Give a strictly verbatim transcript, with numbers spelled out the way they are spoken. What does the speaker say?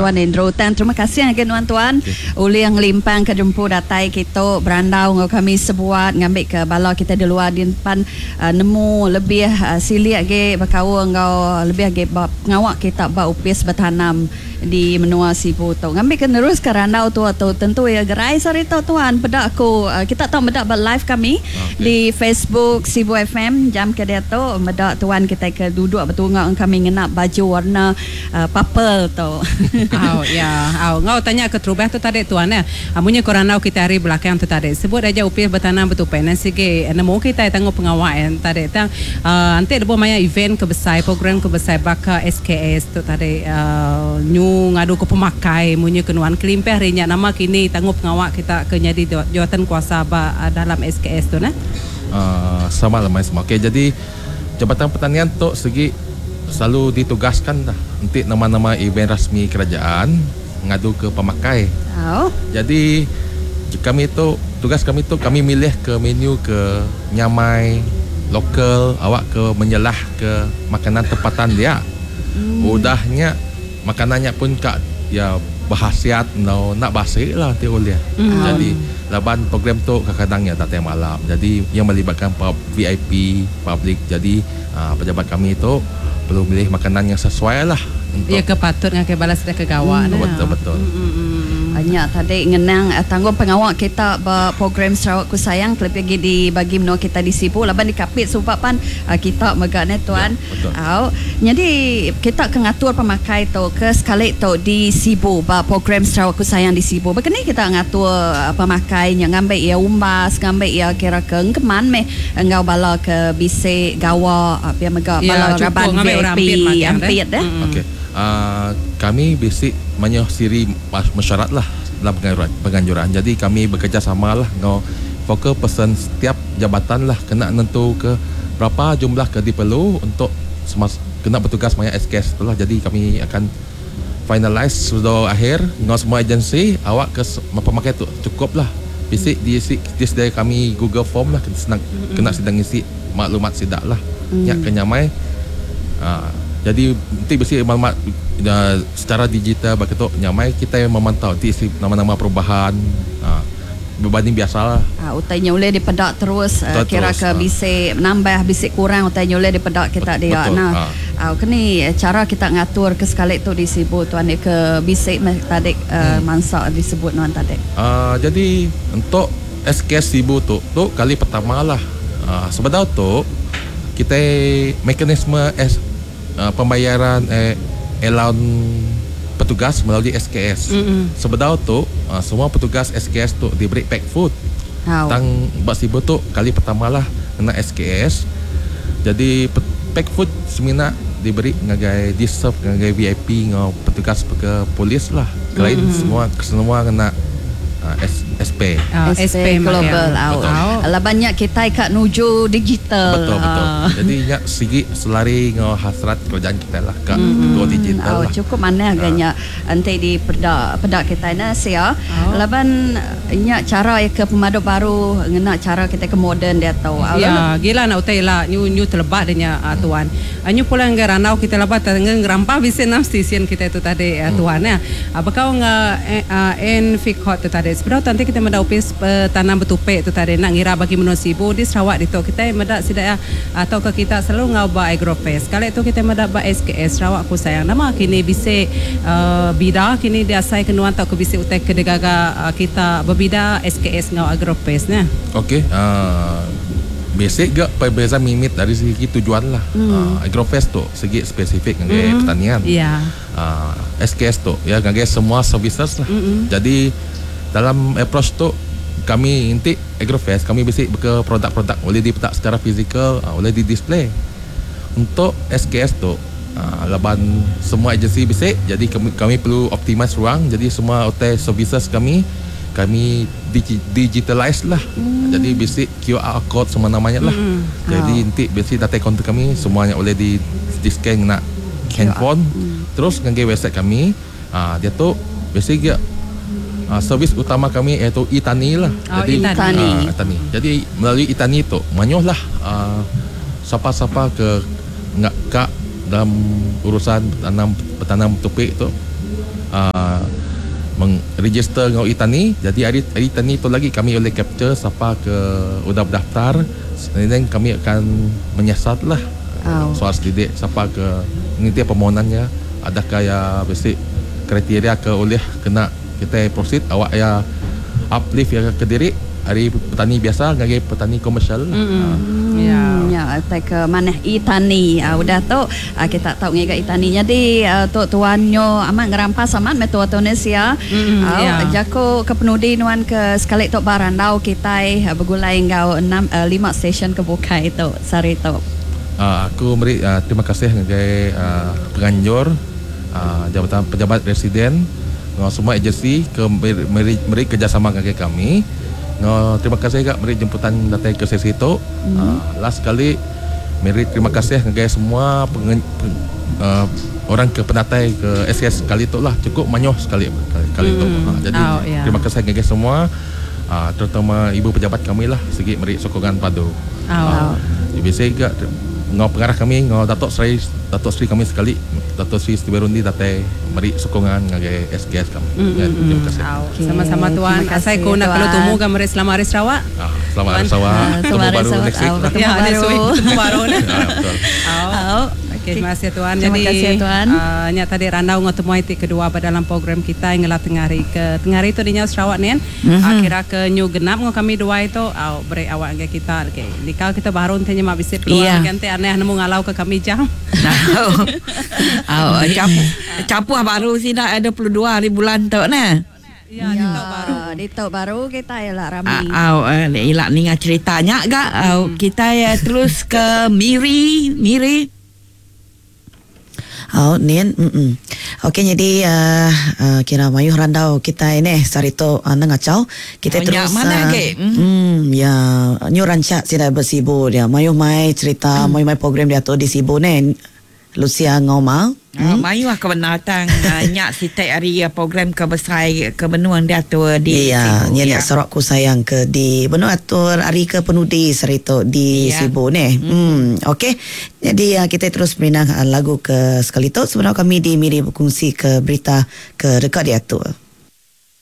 Tuan Andrew. Tang terima kasih ngagai nuan tuan ulih ngelimpang ke jempu datai kitu berandau enggau kami sebuat ngambi ke bala kita di luar din pan uh, nemu lebih uh, silik agi bekaul enggau lebih agi ba pengawa kita ba Opis Betanam di menua Sibu tu. Ngambi ke nerus ke randau tu tu tentu ya gerai sehari tu tuan. Peda aku uh, kita tau meda ba live kami Okey. di Facebook Sibu F M jam ke dia tu, meda tuan kita ke duduk betunga dengan kami ngena baju warna uh, purple tu. Au ya, au ngau tanya ke terubah tu tadi tuan ya. Amunya korang kita hari belakang tu tadi. Sebut aja Opis Betanam Betupai nan sigi nemu kita tangguh pengawal yang tadi tang uh, nanti ada maya event ke besai, program ke besai baka S K S tu tadi, uh, nyu ngadu ke pemakai munyi ke nuan kelimpah rinya nama kini tangguh pengawal kita ke nyadi jawatan kuasa ba uh, dalam S K S tu nah. Uh, selamat lemai semua. Okey, jadi Jabatan Pertanian tu segi selalu ditugaskan dah untuk nama-nama event rasmi kerajaan ngadu ke pemakai. Au. Jadi kami tu tugas kami tu kami milih ke menu ke nyamai lokal awak ke menyelah ke makanan tempatan dia. Hmm. Udahnya makanannya pun kak ya berkhasiat no nak basi lah nanti boleh. Hmm. Jadi laban program tu kadang-kadang ya datang malam. Jadi yang melibatkan pub, V I P, public. Jadi uh, pejabat kami itu perlu milih makanan yang sesuai lah untuk Ya ke patut dengan ke balas dah ke gawak nah. Betul betul. Banyak tadi ngenang uh, tanggung pengawal kita ba program Sarawakku Sayang lebih lagi di bagi menua kita di Sibu laban di Kapit sebab pan uh, kita mega ne tuan. Ya, betul. Au. Jadi kita ke ngatur pemakai tu ke sekali tu di Sibu ba program Sarawakku Sayang di Sibu. Begini kita ngatur uh, pemakai nya ngambil ia umbas, ngambil ia kira ke engkeman meh enggau bala ke bisi gawa uh, pia mega Ya, bala cukup raban ngambil orang V I P ampit makan, ampit eh. eh. Mm. Okey. Uh, kami basic banyak siri mesyuarat lah dalam penganjuran, penganjuran. Jadi kami bekerjasama lah dengan focal person setiap jabatan lah kena nentu ke berapa jumlah ke diperlu untuk semas, kena bertugas maya S K S tu lah. Jadi kami akan finalize sudah akhir dengan semua agensi awak ke pemakai tu cukup lah. Basic diisi disediakan kami Google Form lah kena, senang, kena sedang isi maklumat sidak lah. Mm. Ya kenyamai. Uh, jadi nanti besi maklumat uh, secara digital begitu nyamai kita yang memantau nanti isi nama-nama perubahan uh, berbanding biasa lah. Ah, utainya boleh dipedak terus uh, Betul kira terus, ke ah. bisik nambah bisik kurang utainya boleh dipedak kita Bet- dia. betul, Nah, ah. ah, kini cara kita ngatur ke sekali tu di Sibu tuan ni ke bisik meh tadi uh, hmm. mansa disebut nuan tadi. Uh, jadi untuk S K S Sibu tu tu kali pertama lah. Uh, sebenarnya tu kita mekanisme S, uh, pembayaran eh, allowance petugas melalui S K S. Mm-hmm. Sebenarnya tu uh, semua petugas S K S tu diberi pack food. How? Tang bak Sibu tu kali pertama lah kena S K S. Jadi pe- pack food semina diberi ngagai di serve ngagai V I P ngau petugas ke polis lah. Lain mm-hmm. semua semua kena uh, S, S P. Ah, S P Global Betul. out. Lah banyak kita kat nuju digital. Betul betul. Ah. Jadi nya sigi selari ngau hasrat kerajaan kita lah ke mm. go digital Oh, lah. cukup mana agaknya nanti di pedak pedak kita na sia. Oh. Laban nya cara ke pemadu baru ngena cara kita ke moden dia tahu. Ya, gila nak utai lah nyu nyu terlebat dia nya uh, tuan. Uh, nyu pulang ke ranau kita lebat dengan rampah bisa enam stesen kita itu tadi uh, tuan ya. Uh, bekau nge uh, en fikot tu tadi. Sebenarnya nanti kita meda Opis Tanam Betupek tu tadi nak ngira bagi menua Sibu di Sarawak itu kita meda sidak ya atau ke kita selalu ngau ba Agrofest. Kali itu kita meda ba S K S Sarawak Ku Sayang. Nama kini bisa uh, bida kini dia asai kenuan atau ke bisa utai ke degaga uh, kita berbida S K S ngau Agrofest nah. Okey, uh, basic gak perbezaan mimit dari segi tujuan lah. Hmm. Uh, Agrofest tu segi spesifik ngagai hmm. pertanian. Ya. Uh, S K S tu ya ngagai semua services lah. Hmm. Jadi dalam approach tu kami inti Agrofest kami basic ke produk-produk boleh dipetak secara fizikal, uh, boleh di display. Untuk S K S tu uh, laban semua agensi basic, jadi kami, kami perlu optimize ruang, jadi semua hotel services kami kami digi, digitalize lah. Hmm. Jadi basic Q R code semua namanya lah. Hmm. Jadi Oh. nanti basic data counter kami semuanya boleh di di scan nak handphone. Hmm. Terus ngagai website kami, uh, dia tu basic dia uh, servis utama kami iaitu e-tani lah. Oh, Jadi e-tani. ah, e-tani. Jadi melalui e-tani tu manyuh lah uh, siapa-siapa ke ngak kak dalam urusan tanam petanam topik tu uh, Mengregister ngau e-tani. Jadi hari hari tani tu lagi kami boleh capture siapa ke udah berdaftar. And then kami akan menyiasat lah Oh. soal selidik siapa ke nanti permohonannya, adakah ya basic kriteria ke oleh kena kita proceed awak ya uplift ya ke diri hari petani biasa ngagai petani komersial lah. Mm-mm. Ah. Ya. Ya, tai ke mana e-tani. Uh, udah tu uh, kita tahu ngiga e-tani. Jadi uh, tu tuanyo amat ngerampas amat metua Tunisia. Mm-mm, Uh, ya. Jako ke penudi nuan ke sekali tu barandau kita uh, bergulai ngau enam uh, lima stesen ke bukai tu sari tu. Uh, aku beri uh, terima kasih ngagai uh, penganjur uh, jabatan pejabat residen ngau semua agensi ke meri, meri, meri kerjasama ngagai kami. Ngau terima kasih juga meri jemputan datang ke sesi itu. Mm. Uh, last sekali meri terima kasih ngagai semua pengen, pen, uh, orang ke penatai ke S S kali itu lah cukup manyoh sekali kali, kali itu. Mm. Uh, jadi Oh, ya. terima kasih ngagai semua uh, terutama ibu pejabat kami lah segi meri sokongan padu. Oh. Uh, biasa juga ngau pengarah kami ngau Datuk Seri Datuk Seri kami sekali Datuk Seri Steve Rundi datai meri sokongan ngagai S G S kami. Mm, Ya, mm, terima mm. kasih. Au, Okey, sama-sama tuan. terima kasih, Asai ku nak kalau tuan. tumu ga meri selamat hari Sarawak. Ah, selamat hari Sarawak. Ah, Ketemu selamat hari baru Sarawak. next week Ah, lah. bertemu Ya, next baru. week ketemu baru ni. Ah, betul. Au. Au. Okey, terima kasih tuan. Terima Jadi, kasih tuan. Uh, nya tadi randau ngau temu ti kedua pada dalam program kita yang ngelah tengah hari ke tengah hari tu dinya Sarawak ni. Mm-hmm. Uh, kira ke nyu genap ngau kami dua itu au beri awak dengan kita. Okey, nikah kita baru nanti nya mak bisik peluang Iya. ganti aneh nemu ngalau ke kami jam. Au. Au, capu capu baru sih dah ada dua puluh dua hari bulan tu nah. Ya, ya. Di baru. Di tok baru kita ialah rami. Au, eh, ilak ninga ceritanya gak. Au, kita ya terus ke Miri, Miri. Oh, nian, mm Okey, jadi uh, uh, kira mayuh randau kita ini sarito uh, nengacau. Kita Oh, terus nyak mana ah, ke? Mm. Hmm, ya, nyu rancak sida bersibu dia. Mayuh mai cerita, mayuh mai program dia tu di Sibu ni. Lucia Ngoma. Hmm? Mayu aku benatang uh, nyak sitai hari uh, program ke besar ke benuang dia tu uh, di Iya, Sibu, nya ya. ya. Sarawakku sayang ke di benua atur hari ke penudi serito di Ya. Sibu ni. Hmm, okey. Jadi uh, kita terus merinang uh, lagu ke sekali tu. Sebenarnya kami di Miri berkongsi ke berita ke dekat diatur.